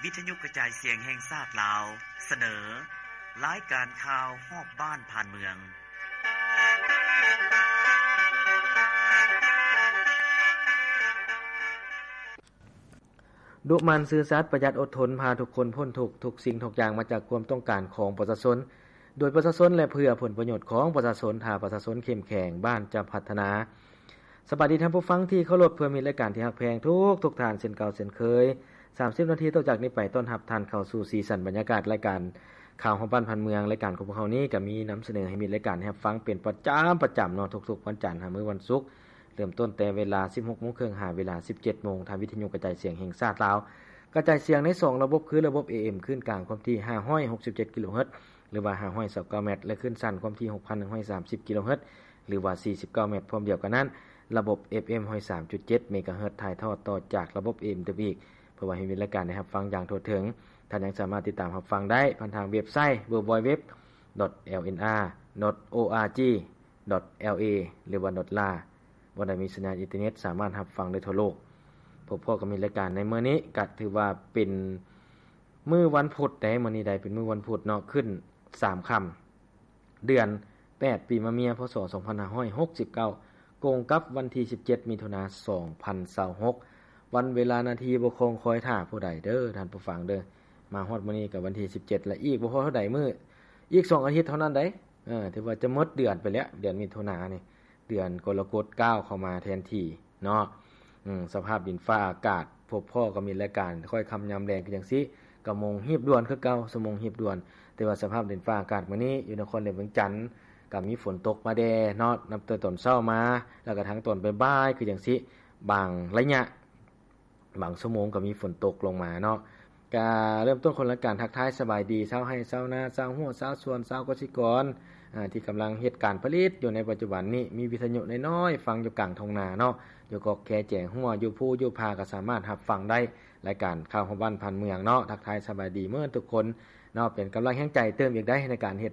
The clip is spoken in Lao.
ວິທະຍຸກະຈາຍສຽງແຫ່ງຊາດລາວ ສະເໜີ ລາຍການຂ່າວຮອບບ້ານຜ່ານເມືອງ. ດຸໝັ່ນຊື່ສັດ, ປະຢັດອົດທົນ, ພາທຸກຄົນພົ້ນທຸກ, ທຸກສິ່ງທຸກຢ່າງມາຈາກຄວາມຕ້ອງການຂອງປະຊາຊົນ, ໂດຍປະຊາຊົນ ແລະ ເພື່ອຜົນປະໂຫຍດຂອງປະຊາຊົນ. ຖ້າປະຊາຊົນເຂັ້ມແຂງ, ບ້ານຈະພັດທະນາ. ສະບາຍດີທ່ານຜູ້ຟັງທີ່ເຄົາລົບ, ເພື່ອມິດລາຍການທີ່ຮັກແພງທຸກໆທ່ານເຊັ່ນເກົ່າເຊັ່ນເຄີຍ. ສາມສິບນາທີຕໍ່ຈາກນີ້ໄປ ຕ້ອນຮັບທ່ານເຂົ້າສູ່ສີສັນບັນຍາກາດລາຍການຂ່າວຮອບບ້ານຜ່ານເມືອງ. ລາຍການຂອງພວກເຮົານີ້ກະມີນຳສະເໜີໃຫ້ມິດລາຍການໄດ້ຮັບຟັງເປັນປະຈຳ, ປະຈຳເນາະ, ທຸກໆວັນຈັນຫາມື້ວັນສຸກ. ເລີ່ມຕົ້ນແຕ່ເວລາສິບຫົກໂມງເຄິ່ງຫາເວລາສິບເຈັດໂມງ ທາງວິທະຍຸກະຈາຍສຽງແຫ່ງຊາດລາວ ກະຈາຍສຽງໃນສອງລະບົບ ຄືລະບົບ ເອເອັມ ຄື້ນກາງຄວາມຖີ່ຫ້າຮ້ອຍຫົກສິບເຈັດກິໂລເຮີດ ຫຼືວ່າຫ້າຮ້ອຍຊາວເກົ້າແມັດ ແລະ ຄື້ນສັ້ນຄວາມຖີ່ຫົກພັນໜຶ່ງຮ້ອຍສາມສິບກິໂລເຮີດ ຫຼືວ່າສີ່ສິບເກົ້າແມັດ. ພ້ອມດຽວກັນນັ້ນ ລະບົບ ເອຟເອັມ ຮ້ອຍສາມຈຸດເຈັດເມກາເຮີດ ຖ່າຍທອດຕໍ່ຈາກລະບົບ ເອເອັມ ໄດ້ອີກ ເພື່ອວ່າໃຫ້ມີລາຍການໄດ້ຮັບຟັງຢ່າງທົ່ວເຖິງ. ທ່ານຍັງສາມາດຕິດຕາມຮັບຟັງໄດ້ຜ່ານທາງເວັບໄຊ ดัບເບິນຢູດັບເບິນຢູດັບເບິນຢູດັບເບິນຢູ ດອດ ແອລເອັນອາ ດອດ ໂອອາຈີ ດອດ ແອລເອ ຫຼືວ່າ ດອດ ລາ ບ່ອນໃດມີສັນຍານອິນເຕີເນັດສາມາດຮັບຟັງໄດ້ທົ່ວໂລກ. ພົບພໍ້ກັບມິດລາຍການໃນມື້ນີ້ ກະຖືວ່າເປັນມື້ວັນພຸດເດ້, ມື້ນີ້ໄດ້ເປັນມື້ວັນພຸດເນາະ, ຂຶ້ນສາມຄ່ຳ ເດືອນແປດ ປີມະເມຍ ພ.ສ. ສອງພັນຫ້າຮ້ອຍຫົກສິບເກົ້າ ກົງກັບວັນທີສິບເຈັດ ມິຖຸນາ ສອງພັນຊາວຫົກ. ວັນເວລານາທີບໍ່ຄົງຄອຍຖ້າຜູ້ໃດເດີທ່ານຜູ້ຟັງເດີ. ມາຮອດມື້ນີ້ກະວັນທີສິບເຈັດລະ, ອີກບໍ່ພໍເທົ່າໃດມື້, ອີກສອງອາທິດເທົ່ານັ້ນໃດ. ເອີ ຖືວ່າຈະໝົດເດືອນໄປແລ້ວ, ເດືອນມິຖຸນານີ້ ເດືອນກໍລະກົດກ້າວເຂົ້າມາແທນທີ່ເນາະ. ອືມ ສະພາບດິນຟ້າອາກາດ ພົບພໍ້ກັບມິດລາຍການຄ່ອຍຄ່ຳຍາມແລງຄືຈັ່ງຊີ້, ກະໂມງຮີບດ່ວນຄືເກົ່າ, ຊົ່ວໂມງຮີບດ່ວນ. ແຕ່ວ່າສະພາບດິນຟ້າອາກາດມື້ນີ້ຢູ່ນະຄອນຫຼວງວຽງຈັນ ກະມີຝົນຕົກມາແດ່ເນາະ, ນັບແຕ່ຕອນເຊົ້າມາ ແລ້ວກະທັງຕອນບ່າຍໆຄືຈັ່ງຊີ້, ບາງໄລຍະ ບາງຊົ່ວໂມງກໍມີຝົນຕົກລົງມາເນາະ. ກະເລີ່ມຕົ້ນຂອງລາຍການທັກທາຍສະບາຍດີຊາວໄຮ່ຊາວນາ, ຊາວຮົ້ວຊາວສວນ, ຊາວກະສິກອນ ອາ ທີ່ກຳລັງເຮັດການຜະລິດຢູ່ໃນປັດຈຸບັນນີ້. ມີວິທະຍຸນ້ອຍໆຟັງຢູ່ກາງທົ່ງນາເນາະ, ຢູ່ກອກແຄແຈງຮົ້ວ, ຢູ່ພູຢູ່ຜາກໍສາມາດຮັບຟັງໄດ້. ລາຍການຂ່າວຮອບບ້ານຜ່ານເມືອງເນາະ, ທັກທາຍສະບາຍດີເໝິດທຸກຄົນເນາະ, ເປັນກຳລັງແຮງໃຈເຕີມອີກໄດ໋ໃນການເຮັດ